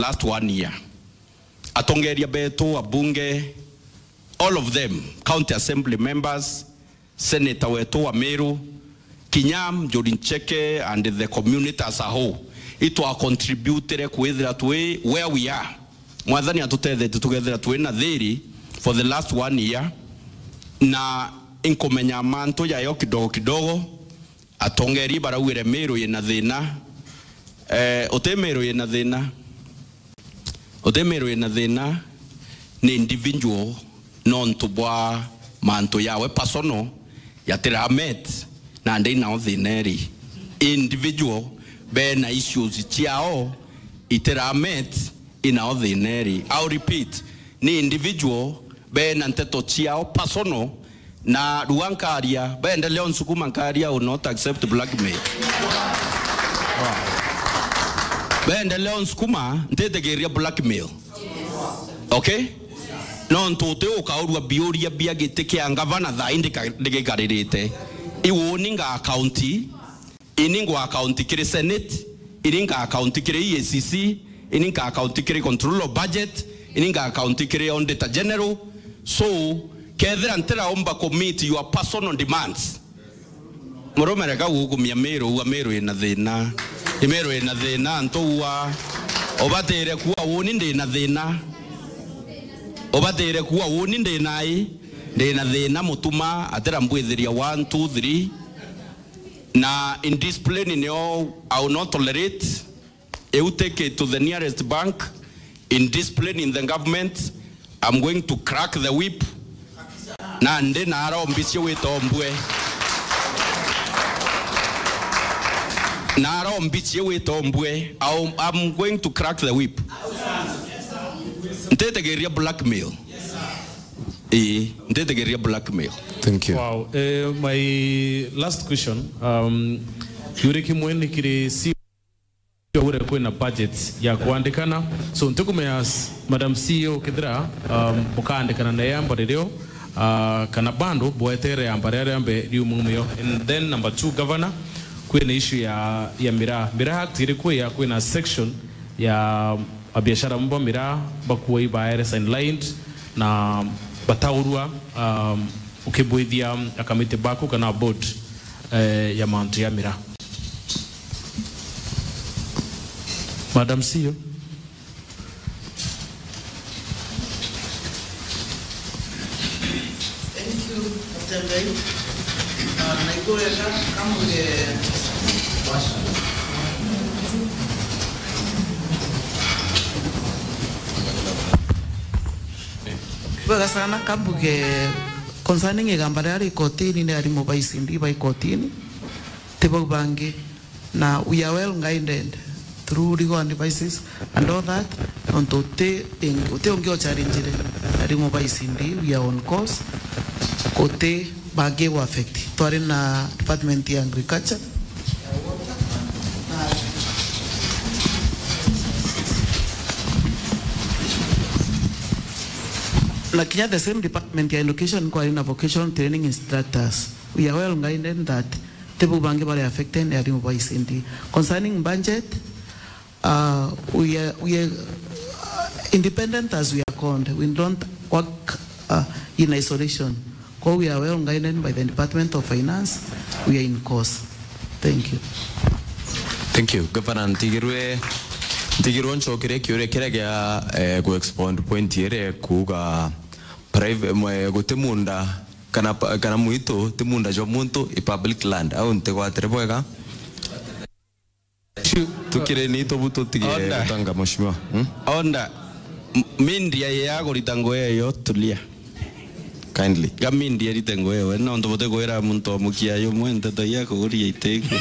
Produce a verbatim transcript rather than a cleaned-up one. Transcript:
last one year. Atongeria betu, abunge, all of them, county assembly members, senator wetu wa Meru, kinya Njuri Ncheke and the community as a whole, itwa contributire kwithira twi where we are. Mwathani atutethetie tukethira twi na thiri for the last one year, na inkumenya mantu jayo kidogo kidogo. Atongeri baraugire Meru yina thina. Eh, uti Meru yina thina. Uti Meru yina thina, ni individual nontu bwa mantu yawe personal yatiramet, na ndi nao thina iri. Individual bena issues ciao itiramet, inao thina iri. I'll repeat, ni individual bena nteto ciao personal, na rua nkaria, baendelea unsukuma nkaria, I will not accept blackmail. Baendelea unsukuma, ntitikiria blackmail. Okay? Nontu uti ukaurua biuria bia giti kia ngavana thaa ii ndika-, ndikikaririte. Iu uni nga account, ini ngwa account kiri Senate, ini nga account kiri E A C C, ini nga account kiri Control of Budget, ini nga account kiri Auditor General. So, kethira ntiraumba ku meet your personal demands, murume reka gukumia Meru, ua Meru ina thina. I Meru ina thina, antu ua. Ubatire kuwa uni ndina thina. Ubatire kuwa uni ndina i. Ndina thina, mutuma, atira mbwithiria one, two, three. Na indiscipline nio I will not tolerate. I will take it to the nearest bank. Indiscipline in the government, I'm going to crack the whip. Na ndi na arombicie witombwe. Na arombicie witombwe. I'll- I'm going to crack the whip. Ntitikiria blackmail. Ii, ntitikiria blackmail. Thank you. Wow. Eh, my last question. Um, Yuri Kimwe ni kiri si ure kwina budget ya kwandikana. So, ntikumenya s-, Madam C E O kethira, um, mukaandikana na yamba ririo, uh, kana bando bwetere yamba ria ria mbe riumumio. And then number two, Governor, kwina issue ya, ya miraa. Miraa Act iri kwia kwina section ya abiashara bamwe ba miraa bakuwa ibaere sidelined na bataurua, um, ukibwithia akamiti baku kana board, eh, ya mantu ya miraa. Madam C E O. Thank you, Mutembei. Ah, naigwega kamuge. Bwega sana, kambuge concerning igamba riria ri kotini, ni arimu ba E C D ba ikotini, ti bau bangi. Na we are well guided through legal advices and all that. Nontu uti, uti ungi o challenge ri, arimu ba E C D, we are on course. Guti bangi gu affect. Twari na department ya agriculture. Na kinya the same department ya education kwari na vocational training instructors. We are well guided that ti bau bangi bari affected ni arimu ba E C D. Concerning budget, uh, we are, we are, uh, independent as we are called. We don't work, uh, in isolation. Kwa we are well guided by the Department of Finance. We are in course. Thank you. Thank you. Governor, ntigirwe, ntigirwe ncokerie kiuria kiria gia, eh, ku expound point iria kuuga private, mwe, guti munda kana pa-, kana mwitu ti munda jwa muntu, i public land. Au ntigwatire bwega. Tukire ni tubu tutige Order. Gutanga, mheshimiwa. Hmm? Order. M-, media ya kurita nguo iyo, tulia. Kindly. Ga media irite nguo iyo, we nontu buti kwira muntu o mukia yumwe nteto ya kuguria itiku.